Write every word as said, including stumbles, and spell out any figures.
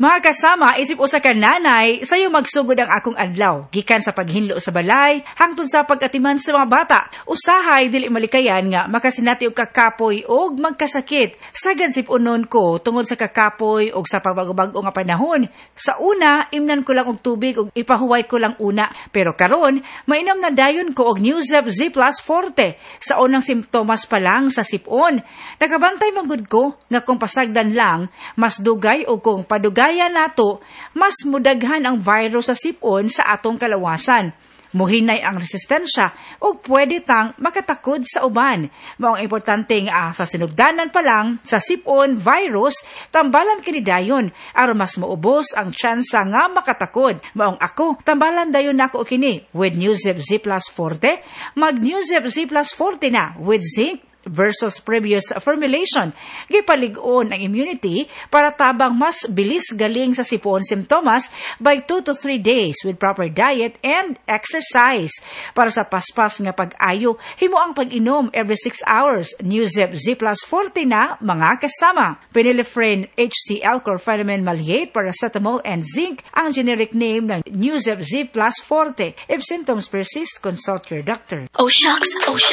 Mga kasama, isip usa ka nanay, sayo magsugod ang akong adlaw. Gikan sa paghinlo sa balay, hangtod sa pag-atiman sa mga bata. Usahay dili malikayan nga makasinati og kakapoy og magkasakit. Sagad sip-unon ko tungod sa kakapoy og sa pagbago-bag-o nga panahon. Sa una, imnan ko lang og tubig og ipahuway ko lang una. Pero karon, mainom na dayon ko og Nuzep Z Plus Forte sa unang simptomas pa lang sa sipon. Nakabantay man gud ko nga kung pasagdan lang, mas dugay o kung padugayan nato, mas mudaghan ang virus sa sipon sa atong kalawasan. Muhinay ang resistensya ug pwede tang makatakod sa uban. Maong importante nga sa sinugdanan pa lang sa sipon virus, tambalan kini dayon aron mas muubos ang tsansa nga makatakod. Maong ako, tambalan dayon nako kini with Nuzep Z Plus Forte. Mag Nuzep Z Plus Forte na with zinc versus previous formulation. Gipalig-on ang immunity para tabang mas bilis galing sa sipon simptomas by two to three days with proper diet and exercise. Para sa paspas nga pag-ayo, himo ang pag-inom every six hours. Nuzep Z Plus Forte na mga kasama. Phenylephrine H C L, chlorpheniramine maleate, paracetamol, and zinc ang generic name ng Nuzep Z Plus Forte. If symptoms persist, consult your doctor. Oh shucks, oh shucks.